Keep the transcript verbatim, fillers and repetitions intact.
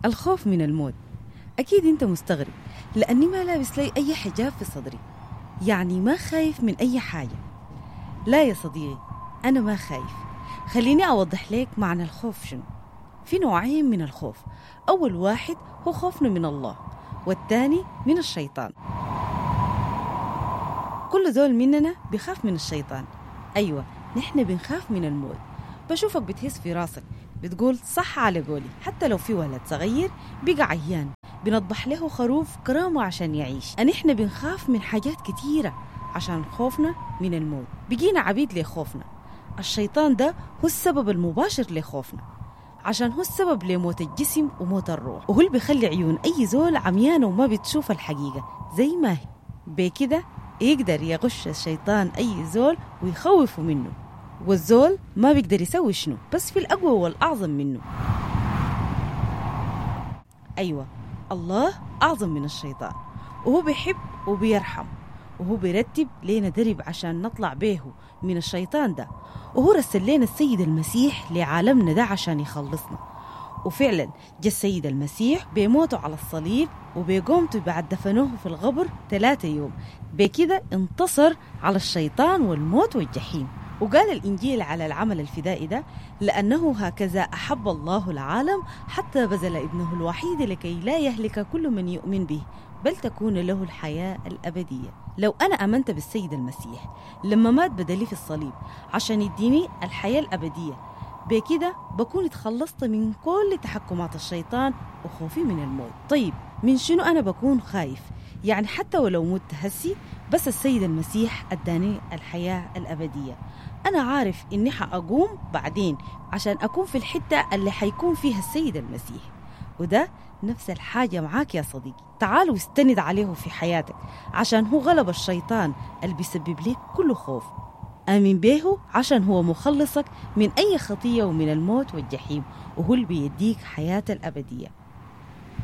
الخوف من الموت. أكيد أنت مستغرب لأني ما لابس لي أي حجاب في صدري، يعني ما خايف من أي حاجة. لا يا صديقي، أنا ما خايف. خليني أوضح لك معنى الخوف شنو. في نوعين من الخوف، أول واحد هو خوفنا من الله، والثاني من الشيطان. كل زول مننا بيخاف من الشيطان. أيوة، نحن بنخاف من الموت. بشوفك بتهز في راسك بتقول صح على قولي، حتى لو في ولد صغير بقى عيان بنطبح له خروف كرامة عشان يعيش. نحن بنخاف من حاجات كتيرة عشان خوفنا من الموت، بقينا عبيد لخوفنا. الشيطان ده هو السبب المباشر لخوفنا، عشان هو السبب لموت الجسم وموت الروح، وهو اللي بيخلي عيون أي زول عميانة وما بتشوف الحقيقة زي ما هي. بكده يقدر يغش الشيطان أي زول ويخوفه منه، والزول ما بيقدر يسوي شنو، بس في الأقوى والأعظم منه. أيوة، الله أعظم من الشيطان، وهو بيحب وبيرحم، وهو بيرتب لنا درب عشان نطلع به من الشيطان ده، وهو رسل لنا السيد المسيح لعالمنا ده عشان يخلصنا. وفعلا جاء السيد المسيح بموته على الصليب وبقومته بعد دفنوه في الغبر ثلاثة يوم. بكده انتصر على الشيطان والموت والجحيم. وقال الإنجيل على العمل الفدائي ده: لأنه هكذا أحب الله العالم حتى بذل ابنه الوحيد لكي لا يهلك كل من يؤمن به بل تكون له الحياة الأبدية. لو أنا أمنت بالسيد المسيح لما مات بدلي في الصليب عشان يديني الحياة الأبدية، بكده بكون اتخلصت من كل تحكمات الشيطان وخوفي من الموت. طيب من شنو أنا بكون خايف؟ يعني حتى ولو مت هسي، بس السيد المسيح أداني الحياة الأبدية. أنا عارف إني حأقوم بعدين عشان أكون في الحتة اللي حيكون فيها السيد المسيح. وده نفس الحاجة معاك يا صديقي، تعال واستند عليه في حياتك عشان هو غلب الشيطان اللي بيسبب لك كل خوف. آمن به عشان هو مخلصك من أي خطية ومن الموت والجحيم، وهو اللي بيديك حياة الأبدية.